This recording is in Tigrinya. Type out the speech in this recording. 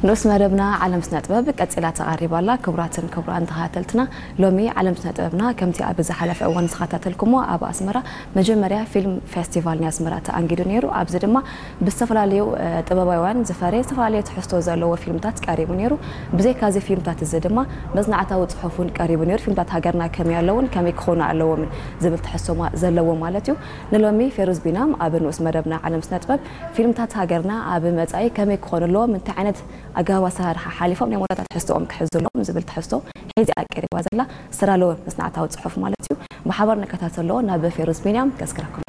ንኡስ መደብና ዓለም ስነ ጥበብ ቀጺላ ተቓሪባ ኣላ። ክቡራትን ክቡራን ተኸታተልትና፣ ሎሚ ዓለም ስነ ጥበብና ከምቲ ኣብ ዝሓለፈ እዋን ዝተኸታተልኩሞ ኣብ ኣስመራ መጀመርያ ፊልም ፌስቲቫል ናይ ኣስመራ ተኣንጊዱ ነይሩ። ኣብዚ ድማ ብዝተፈላለዩ ጥበባውያን ዝፈረየ ዝተፈላለየ ትሕዝቶ ዘለዎ ፊልምታት ቀሪቡ ነይሩ። ብዘይካ እዚ ፊልምታት እዚ ድማ መጽናዕታዊ ጽሑፍ እውን ቀሪቡ ነይሩ። ፊልምታት ሃገርና ከመይ ኣለውን ከመይ ክኾኑ ኣለዎምን ዝብል ትሕዝቶ ዘለዎ ማለት እዩ። ንሎሚ ፌሩዝ ቢናም ኣብ ንኡስ መደብና ዓለም ስነ ጥበብ ፊልምታት ሃገርና ኣብ መጻኢ ከመይ ክኾኑ ኣለዎም፣ እንታይ ዓይነት ኣገባብ ኣሰራርሓ ሓሊፎም ናይ መወዳእታ ትሕዝቶኦም ክሕዙ ኣለዎም ዝብል ትሕዝቶ ሒዛ ቀሪባ ዘላ ዝተዳለወ መጽናዕታዊ ጽሑፍ ማለት እዩ። ብሓባር ንከታተሎ ናብ ፌሩዝ ቢንያም ከስክረኩም።